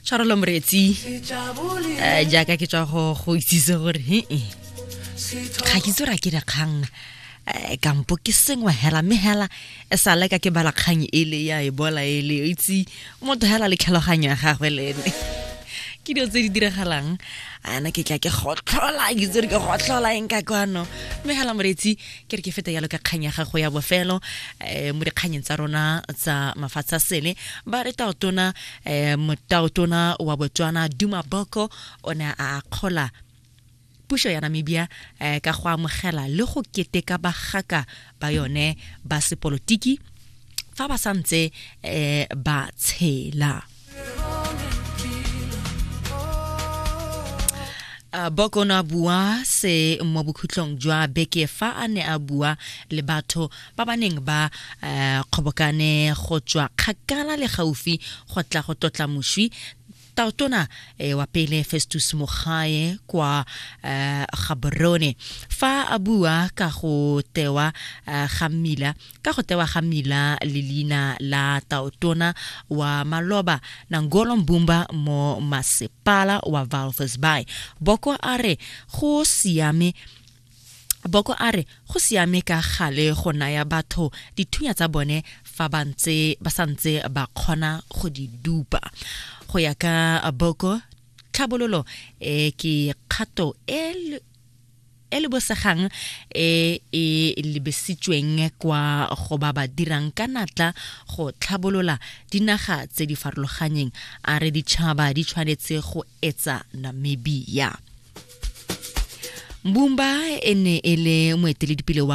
Tshwarelo moreetsi, jaaka ke tswa go go itsise gore he ga ke itse gore a ke dikgang kampo ke sengwe hela, mme hela e sa leka ke bala kgang ele ya ebola ele, o itse motho hela le tlhaloganyo ya gagwe le ene ke dilo tse di diragalang. Ana ke tla ke gotlhola, ke itse gore ke gotlhola eng ka kwano. Mme hela moreetsi, ke re ke feta yalo ka kgang ya gago ya bofelo mo dikganyeng tsa rona tsa mafatshe a sele. Ba re taotona, motaotona wa Botswana Duma Boko o ne a akgola puso ya Namibia ka go amogela le go keteka bagaka ba yone ba sepolotiki fa ba santse ba tshela. Boko o ne a bua se mo bokhutlong jwa beke fa a ne a bua le batho ba ba neng ba kgobokane go tswa kgakala le gaufi go tla go tlotla moswi taotona wa pele Festus Mogae kwa Gaborone. Fa a bua ka go tewa ga mmila ka go tewa ga mmila le leina la taotona wa maloba Nangolo Mbumba mo masepala wa Walvis Bay, Boko a re go siame Boko a re go siame ka gale go naya batho dithunya tsa bone fa ba ntse ba santse ba kgona go di dupa. Go ya ka Boko, tlhabololo e ke kgato e e lebosegang e e lebesitsweng kwa go ba ba dirang ka natla go tlhabolola dinaga tse di farologanyeng. A re ditšhaba di tshwanetse go etsa Namibia. Mbumba e ne e le moeteledipele wa